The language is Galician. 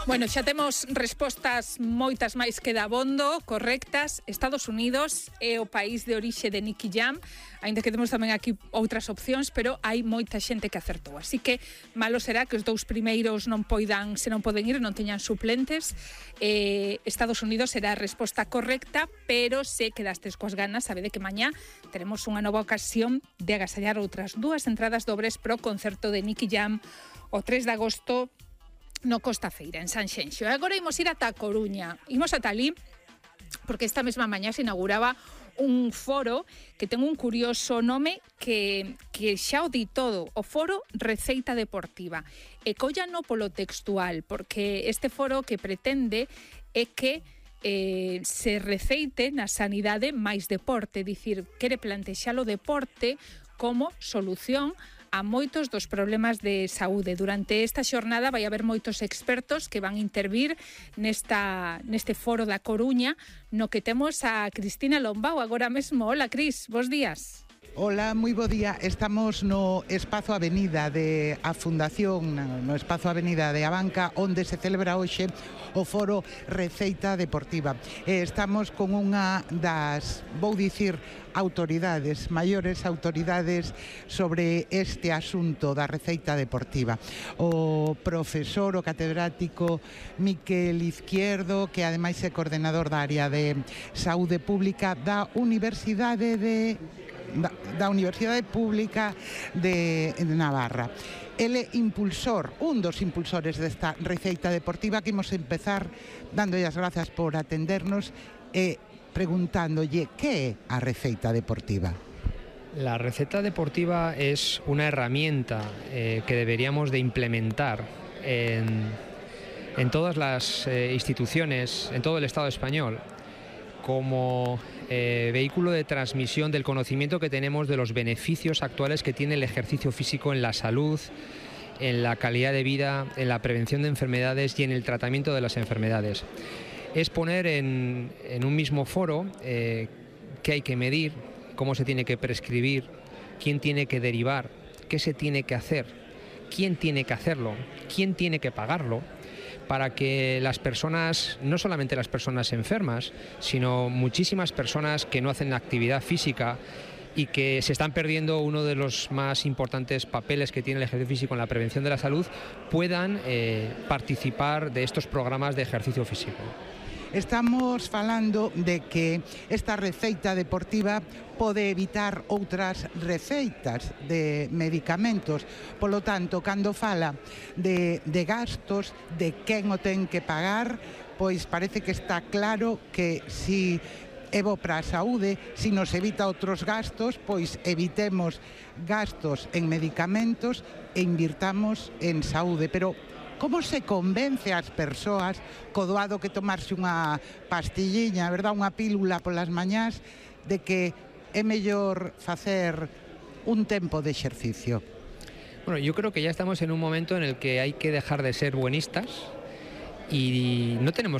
Bueno, xa temos respostas moitas máis que dabondo, correctas. Estados Unidos é o país de orixe de Nicky Jam, aínda que temos tamén aquí outras opcións, pero hai moita xente que acertou. Así que malo será que os dous primeiros non poidan, se non poden ir, non teñan suplentes. Estados Unidos será a resposta correcta, pero se quedastes coas ganas, sabede que mañá teremos unha nova ocasión de agasallar outras dúas entradas dobres pro concerto de Nicky Jam o 3 de agosto no Costa Feira, en Sanxenxo. E agora imos ir ata a Coruña. Imos ata ali, porque esta mesma mañá se inauguraba un foro que ten un curioso nome que xa o di todo, o Foro Receita Deportiva. E collano polo textual, porque este foro que pretende é que se receite na sanidade máis deporte, dicir, quere plantexar o deporte como solución a moitos dos problemas de saúde. Durante esta xornada vai haber moitos expertos que van intervir neste foro da Coruña, no que temos a Cristina Lombao agora mesmo. Hola, Cris, bos días. Hola, moi bo día. Estamos no Espazo Avenida de a Fundación, no Espazo Avenida de Abanca, onde se celebra hoxe o Foro Receita Deportiva. Estamos con unha das, vou dicir, autoridades, maiores autoridades sobre este asunto da receita deportiva. O profesor, o catedrático Miquel Izquierdo, que ademais é coordenador da área de saúde pública da Universidade Pública de Navarra. Ele impulsor, un dos impulsores desta receita deportiva, que imos empezar dándolle as grazas por atendernos e preguntándolle que é a receita deportiva. La receta deportiva es una herramienta que deberíamos de implementar en todas las instituciones, en todo el Estado español, como vehículo de transmisión del conocimiento que tenemos de los beneficios actuales que tiene el ejercicio físico en la salud, en la calidad de vida, en la prevención de enfermedades y en el tratamiento de las enfermedades. Es poner en un mismo foro qué hay que medir, cómo se tiene que prescribir, quién tiene que derivar, qué se tiene que hacer, quién tiene que hacerlo, quién tiene que pagarlo, para que las personas, no solamente las personas enfermas, sino muchísimas personas que no hacen actividad física y que se están perdiendo uno de los más importantes papeles que tiene el ejercicio físico en la prevención de la salud, puedan participar de estos programas de ejercicio físico. Estamos falando de que esta receita deportiva pode evitar outras receitas de medicamentos. Polo tanto, cando fala de gastos, de quen o ten que pagar, pois parece que está claro que si é bo para a saúde, si nos evita outros gastos, pois evitemos gastos en medicamentos e invirtamos en saúde. Pero como se convence as persoas co doado que tomarse unha pastilliña, verdad, unha pílula polas mañás, de que é mellor facer un tempo de exercicio? Bueno, yo creo que ya estamos en un momento en el que hay que dejar de ser buenistas y no tenemos que